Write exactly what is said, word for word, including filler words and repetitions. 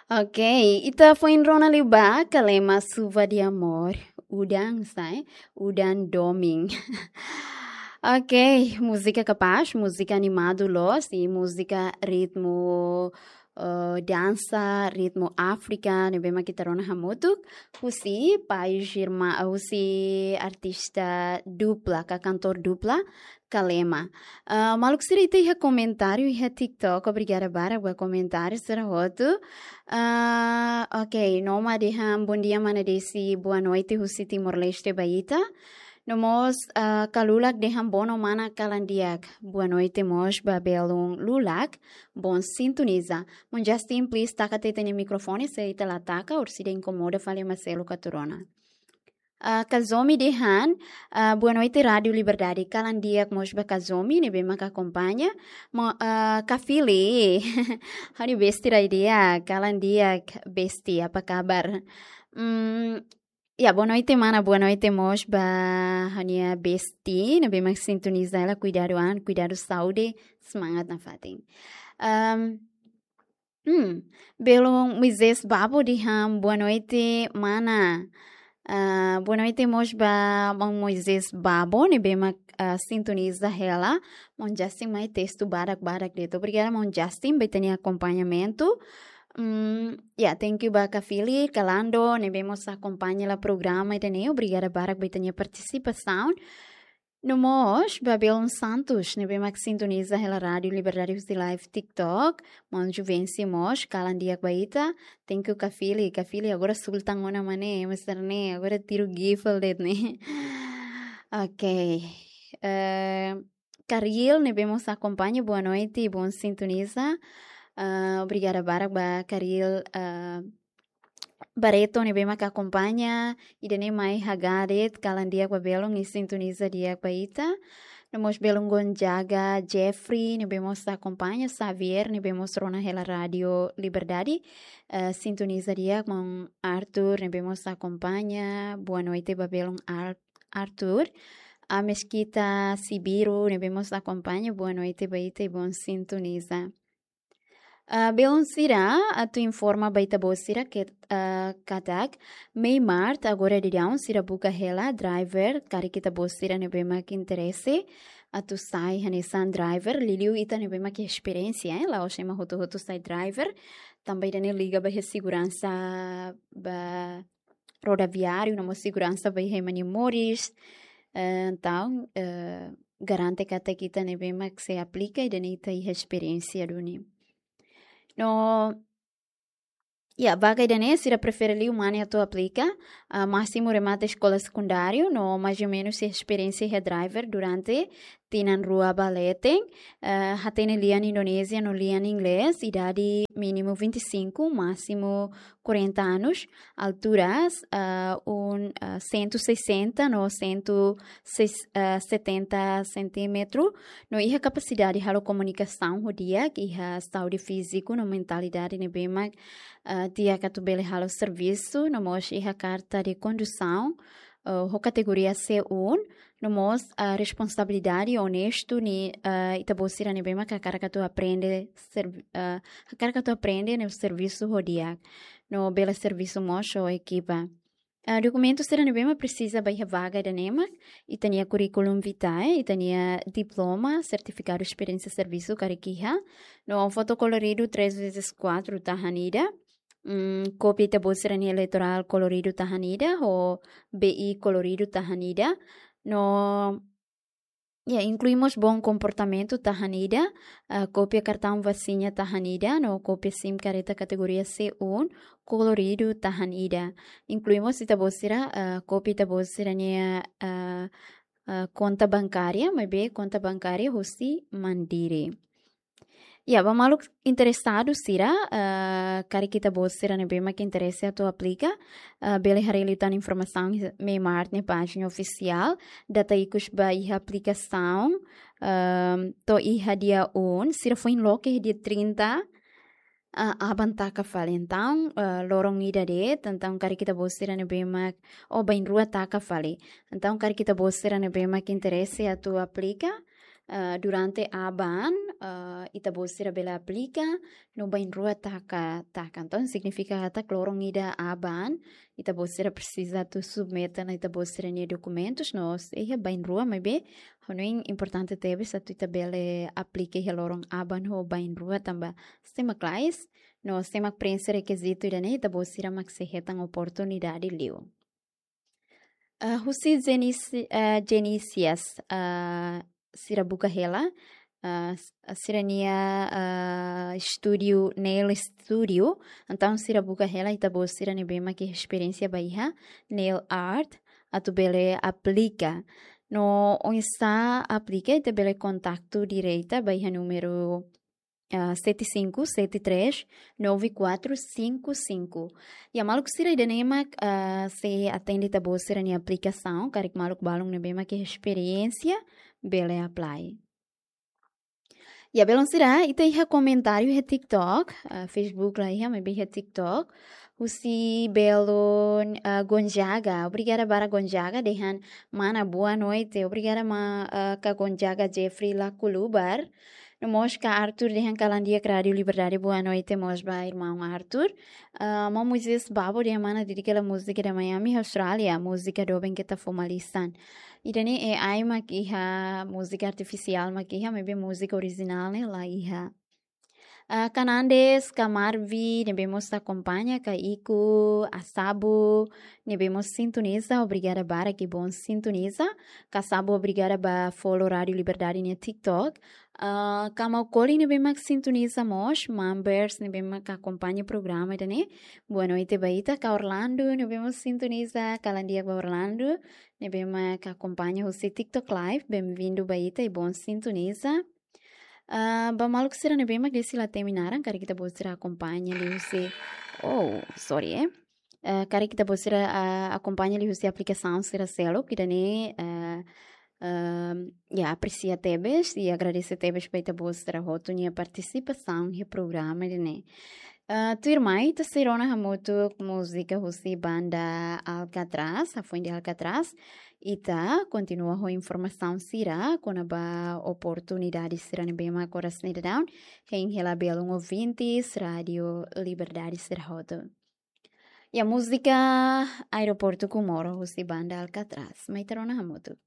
Ok, ita foin rona liu ba Kalema Chuva de Amor. Udan, sai? Udan domin. Ok, múzika kapás, múzika animadu loos, i múzika ritmu, eh, dansa, ritmu Áfrika, ne'ebé mak ita rona hamutuk, husi país irmaun, husi artista dupla, ka kantór dupla, Kalema. Ah, maluk sira, ita iha komentáriu iha TikTok, obrigada barak ba komentáriu sira hotu. Ah, ok, Noma dehan, "Bom dia, mana Desi, boa noite husi Timor-Leste ba ita." No mós, ah, Kalulak dehan, "Bono mana kalan di'ak, boa noite mós ba belun Lulak, bom sintoniza." Maun Justin, please, taka tiha ita-nia mikrofone, se ita la taka, orsida inkomoda fali ema seluk atu rona. Ah, Kazomi dehan, ah, "Boa noite, Rádio Liberdade." Kalan di'ak mós ba Kazomi, ne'ebé mak akompaña. Mo-, ah, Kafili. Ha'u-nia besti rai di'ak, kalan di'ak, besti, apa kabar? Hmm, ya, boa noite, mana, boa noite mós ba ha'u-nia besti, ne'ebé mak sintoniza hela, kuidadu an, kuidadu saúde, semangat nafatin. Ahm, Hmm, belun Moisés Babo dehan, "Boa noite, mana." Ah, boa noite mós ba maun Moisés Babo, ne'ebé mak, ah, sintoniza hela. Maun Justin mai testu barak-barak de'it. Obrigada, maun Justin, ba ita-nia akompañamentu. Hmm, ya, thank you ba Kafili, Kalando, ne'ebé mós akompaña hela programa ida-ne'e. Obrigada barak ba ita-nia partisipasaun. No mós, ba belun Santos, ne'ebé mak sintoniza hela Rádio Liberdade husi live TikTok. Maun Juvencio mós, kalan di'ak ba ita. Thank you, Kafili. Kafili agora sultan ona mane, mesar ne, agora tiru gifel de'it ne. Ok. Eh, Karil, ne'ebé mós akompaña, boa noite, bom sintoniza. Ah, obrigada barak ba Karil, ah, Barreto, ne'ebé mak akompaña, ida-ne'e mai hagá de'it, kalan di'ak ba belun, i sintoniza di'ak ba ita. No mós belun Gonzaga, Jeffrey, ne'ebé mós akompaña, Xavier, ne'ebé mós rona hela Rádio Liberdade, eh, sintoniza di'ak, maun Arthur, ne'ebé mós akompaña, boa noite ba belun Ar-, Arthur. A Mesquita Sibiru, ne'ebé mós akompaña, boa noite ba ita i bom sintoniza. Ah, belun sira, atu informa ba ita-boot sira ke, ah, katak, Mei Mart, agora daudaun sira buka hela driver, karik ita-boot sira ne'ebé mak interese atu sai hanesan driver, liuliu ita ne'ebé mak esperiénsia, eh, la'ós ema hotu-hotu sai driver, tanba ida-ne'e liga ba iha seguransa ba rodoviáriu, no mós seguransa ba iha ema nia moris. Eh, entaun, eh, garante katak ita ne'ebé mak sei aplika, ida-ne'e ita iha esperiénsia duni. No, ya, vaga ida-ne'e sira prefere liu mane atu aplika, ah, másimu remata eskola sekundáriu, no mais ou menus iha esperiénsia iha driver durante tinan rua ba leten, eh, hatene lian Indonézia no lian Inglés, idade mínimu vinte e cinco, másimu quarenta anos, altura, ah, um, ah, cento e sessenta no cento e setenta centímetro, no iha kapasidade halo komunikasaun ho di'ak, iha saúde fíziku no mentalidade ne'ebé mak, ah, di'ak atu bele halo servisu, no mós iha karta de kondusaun, ah, ho kategoria C um, no mós, ah, responsabilidade, onestu, ne'e, ah, ita-boot sira ne'ebé mak hakarak atu aprende servi-, ah, hakarak atu aprende ne'e servisu ho di'ak, no bele servisu mós ho ekipa. Ah, dokumentu sira ne'ebé mak presiza ba iha vaga ida-ne'e mak, ita-nia curriculum vitae, ita-nia diploma, sertifikadu esperiénsia servisu karik iha, no foto koloridu três vezes quatro tahan ida, mm, kópia ita-boot sira-nia eleitorál koloridu tahan ida, ho B I koloridu tahan ida, no, ya, inklui mós bom komportamentu tahan ida, ah, kópia kartaun vasina tahan ida, no kópia sim kareta kategoria C um koloridu tahan ida. Inklui mós ita-boot sira, ah, kópia ita-boot sira-nia, ah, ah, konta bankária, maibé konta bankária husi Mandiri. Ya, ba maluk interesadu sira, ah, karik ita-boot sira ne'ebé mak interese atu aplika, ah, bele haree liután informasaun iha Mei Mart nia pájina ofisiál, data ikus ba iha aplikasaun, ah, to'o iha dia um, sira foin loke iha dia trinta, ah, aban taka fali. Entaun, ah, loron ida de'it, entaun karik ita-boot sira ne'ebé mak, oh, bainrua taka fali. Entaun karik ita-boot sira ne'ebé mak interese atu aplika, ah, durante aban, ah, ita-boot sira bele aplika no bainrua taka, taka. Entaun, signifika katak loron ida aban, ita-boot sira presiza atu submete ona ita-boot sira-nia dokumentus no sei iha bainrua, maibé hanoin importante tebes atu ita bele aplika iha loron aban ho bainrua tanba sistema klais no sistema preenxe rekizitu ida-ne'e ita-boot sira mak sei hetan oportunidade liu. Ah, husi Genis-, ah, Genisias, ah, sira buka hela, ah, s-, sira-nia, ah, studio, nail studio. Entaun sira buka hela ita-boot sira ne'ebé mak iha esperiénsia ba iha nail art atu bele aplika. No oinsá aplika, ita bele kontaktu direta ba iha númeru, ah, sete cinco sete três nove quatro cinco cinco. Iha maluk sira ida-ne'e mak, ah, sei atende ita-boot sira-nia aplikasaun, karik maluk balun ne'ebé mak iha esperiénsia, bele apply. Iha belun sira, ita iha komentáriu iha TikTok, ah, Facebook la iha, maibé iha TikTok. Husi belun, ah, Gonzaga. Obrigada barak Gonzaga, dehan mana boa noite. Obrigada ma, ah, kak Gonzaga Jeffrey Lakulubar. No mós kak Arthur dehan kalan di'ak Rádio Liberdade, boa noite mós ba irmaun Arthur. Ah, maun Moisés Babo dehan mana didik hela múzika da Miami, Austrália, múzika doben keta fó malisan. Ida-ne'e A I mak iha, múzika artifisiál mak iha, maibé múzika orijinál ne'e la iha. Ah, kak Nandes, kak Marvi, ne'ebé mós akompaña, kak Iku, Asabu, ne'ebé mós sintoniza, obrigada barak i bon sintoniza. Kak Asabu, obrigada ba follow Rádio Liberdade nia TikTok. Ah, kak Maukoli ne'ebé mak sintoniza mós, members ne'ebé mak akompaña programa ida-ne'e. Boa noite ba ita, kak Orlando ne'ebé mós sintoniza, kalan di'ak ba Orlando ne'ebé mak akompaña husi TikTok Live, bem-vindo ba ita i bon sintoniza. Ah, ba maluk sira ne'ebé mak desi la temi naran, karik ita-boot sira akompaña liuhusi, oh, sorry, eh. Ah, karik ita-boot sira, ah, akompaña liuhusi aplikasaun sira seluk ida-ne'e, ah, ah, ya, apresia tebes i agradese tebes ba ita-boot sira hotu nia partisipasaun iha programa ida-ne'e. Ah, tuirmai, ita sei rona hamutuk múzika husi banda Alcatraz, hafoin de Alcatraz. Ita kontinua ho informasaun sira kona-ba oportunidade sira ne'ebé mak oras ne'e daudaun hein hela belun ouvintes Rádio Liberdade sira hotu. Iha múzika Aeroportu Comoro husi banda Alcatraz. Mai ita rona hamutuk.